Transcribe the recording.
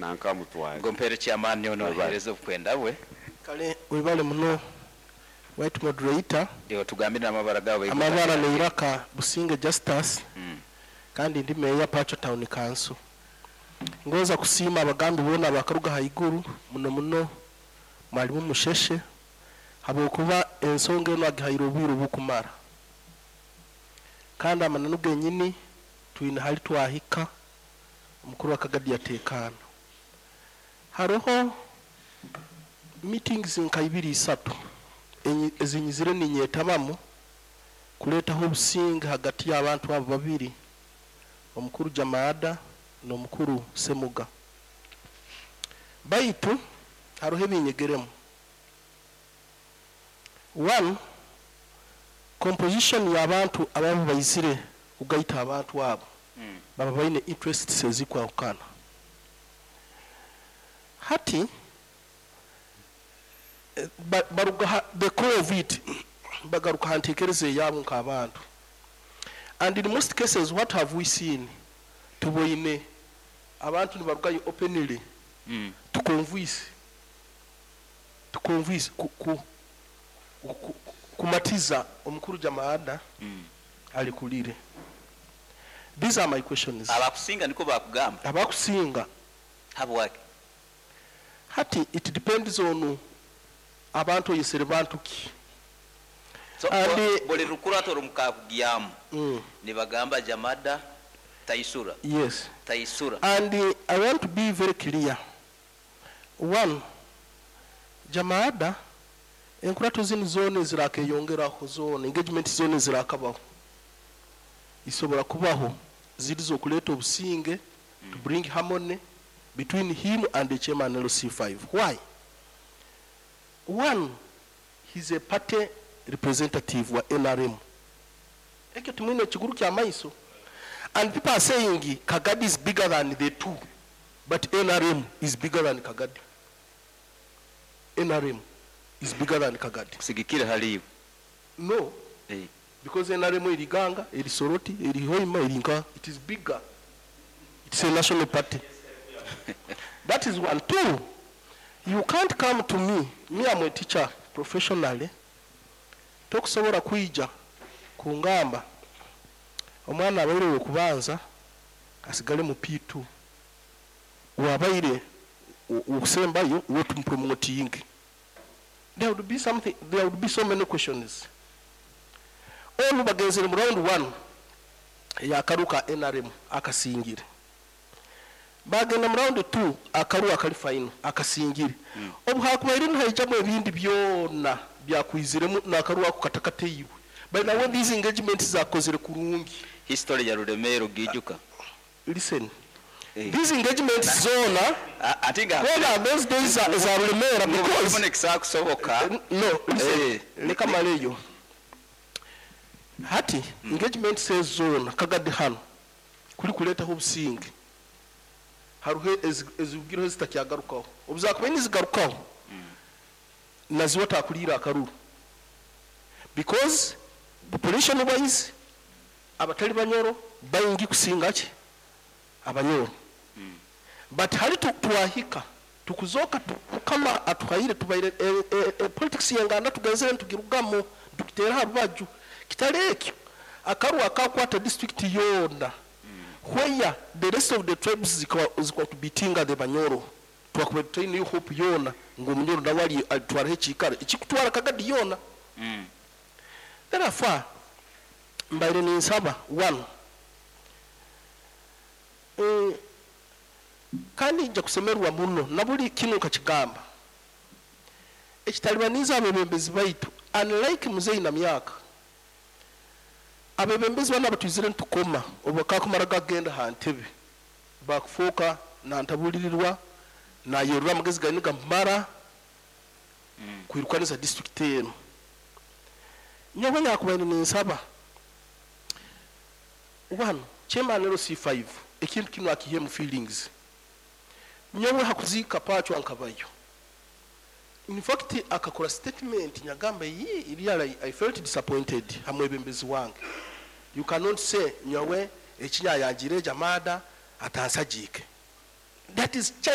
Nanka mutware. Ngo mpere chairman ono Webale. Ahereze obukwenda bwe. Kale webale muno, right moderator. Ndiho tugambire n'amabara gawe. Amabara neiraka Businge Justus, kandi ndi meya Pacho Town Council. Ngoza kusiima abagambi boona bakaruga haiguru, muno muno mwalimu Musheshe, habwokuba ensonga eno agihaire obwire obukumara, kandi amananu genyini twine hali twahika omukuru wa Kagadi yateekaana. Hariho meetings nka ibiri isatu ezinyizire ninyetabamu kuleetaho obusinge hagati y'abantu abo babiri, omukuru Jamada n'omukuru Semuga, baitu hariho ebinyegeremu. One, composition y'abantu ababa baizire kugaita abantu abo baba baine interests ezikwahukana. Hati baruga the core of it, bagaruka ha ntekereza eyabo nk'abantu. And in most cases, what have we seen? Tuboine abantu nibarugayo openly to convince kumatiza omukuru Jamaada alikulire. These are my questions. Abakusinga niko bakugamba? Abakusinga. Habwaki? Hati it depends on abantu oyesere bantu ki. So, buli lukurato rumukakugyamu nibagamba Jamada taisura. Yes. Taisura. And I want to be very clear. One, Jamaada enkurato zinu zona ezirakeyongeraho, zona engagement zona ezirakabaho, isobora kubaho ziri zokuleta obusinge, to bring harmony between him and the chairman LC5. Why? One, he's a party representative wa NRM. Ekyo tumwine ekiguru kya maiso. And people are saying Kagadi is bigger than the two, but NRM is bigger than Kagadi. NRM is bigger than Kagadi. Kusigikira haliyo? No. Because NRM eri Ganga, eri Soroti, eri Hoima, eri Nka, it is bigger. It's a national party. That is one. Two, you can't come to me, me, I'm a teacher professionally, tokusobola kwija kungamba omwana abaire okubanza asigale mu P2, wabaire okusembayo wotumupromoting. There would be something, there would be so many questions. Onu bagenzere mu round 1 eyakaruka NRM akasingire, bagenda mu round 2 akaru akali final akasingire. Obu hakubaire nihaijamu ebindi byona byakwiziremu nakaru ako katakateiwe. By now, when these engagements zakozere kurungi. History ya Rulemero gijuka. Listen. These engagements zona Ate nga whether those days za Rulemera, because because kisakusoboka. No, listen. Leka maleyo. Hati engagement says zona Kagadi hano kuri kuletaho obusinge, haruhe ezibwiraho zitakyagarukaho. Obuzakuba nizigarukaho, naziwa takulira akaruru, because population wise abatali Banyoro bayingi kusinga ki Abanyoro. But hali twahika tukuzoka Mukama atuhaire tubaire politics yenganda tugenzere ntugirugamo tukitera ha rubaju. Kitali ekyo, akaru akakwata district yona, where the rest of the tribes zikwa tubitinga the Banyoro, twakuba tutaine hope yona ngo Omunyoro nawe ali alitwaraho ekikaro ekikutwara Kagadi yona. Therefore mbaire ninsaba one, kandi nja kusemerwa muno na buli kinu nkakigamba ekitalibaniza abebembezi baitu. Unlike muzeyi na myaka, abebembezi bana batwizire ntukoma obu kakumara gagenda ha ntebe bakufuuka nantabulirirwa nayerura amagezi gani gamara kwirukaniza district eno. Nyowe nyakubaire ninsaba, one, chairman LC5 ekintu kino akihemu feelings. Nyowe hakuziika Pachwa nkabayo. In fact, akakora statement nyagamba yi really I felt disappointed hamwebembezi wange. You cannot say nyowe ekinyayangire Jamada atansajike. That is child.